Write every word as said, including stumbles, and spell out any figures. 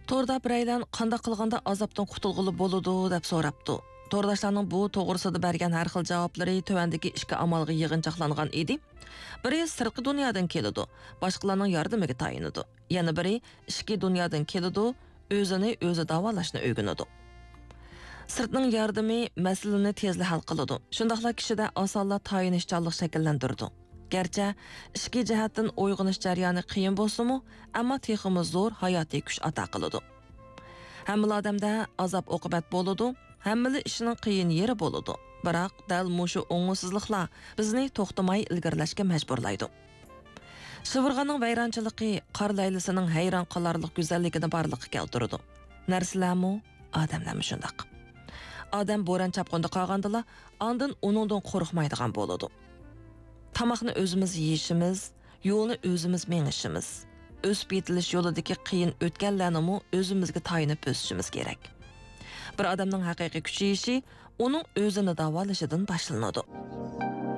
توردا بىرەيلەن قانداق قىلغاندا ئازابتىن قۇتۇلغىلى بولىدۇ دەپ سوراپتۇ. تورداشلارنىڭ بۇ توغرىسىدا بەرگەن ھەر خىل جاۋابلىرى تۆۋەندىكى ئىككى ئامالغا يىغىنچاقلانغان ئىدى. بىرى سىرتقى دۇنيادىن كېلىدۇ، باشقىلارنىڭ ياردىمىگە تايىنىدۇ. يەنە بىرى ئىچكى دۇنيادىن كېلىدۇ، ئۆزىنى ئۆزى داۋالاشنى ئۆگىنىدۇ. سىرتنىڭ ياردىمى مەسىلىنى تېزلا ھەل قىلىدۇ، شۇنداقلا كىشىدە ئاسانلا تايىنىشچانلىق شەكىللەندۈرىدۇ. گەرچە ئىچكى جەھەتتىن ئويغىنىش جەريانى قىيىن بولسىمۇ، ئەمما تېخىمۇ زور ھاياتىي كۈچ ئاتا قىلىدۇ. ھەممىلا ئادەمدە ئازاب-ئوقۇبەت بولىدۇ، ھەممىلا ئىشنىڭ قىيىن يېرى بولىدۇ. بىراق، دەل مۇشۇ ئوڭۇشسىزلىقلار بىزنى توختىماي ئىلگىرىلەشكە مەجبۇرلايدۇ. شىۋىرغاننىڭ ۋەيرانچىلىقى قار لەيلىسىنىڭ ھەيران قالارلىق گۈزەللىكىنى بارلىققا كەلتۈرىدۇ. نەرسىلەرمۇ، ئادەملەرمۇ شۇنداق. ئادەم بوران چاپقۇندا قالغاندىلا، ئاندىن ئۇنىڭدىن قورقمايدىغان بولىدۇ. تاماقنى ئۆزىمىز يېيىشىمىز، يولنى ئۆزىمىز مېڭىشىمىز، ئۆسۈپ يېتىلىش يولىدىكى قىيىن ئۆتكەللەرنىمۇ ئۆزىمىزگە تايىنىپ بۆسۈشىمىز كېرەك. بىر ئادەمنىڭ ھەقىقىي كۈچىيىشى ئۇنىڭ ئۆزىنى داۋالىشىدىن باشلىنىدۇ.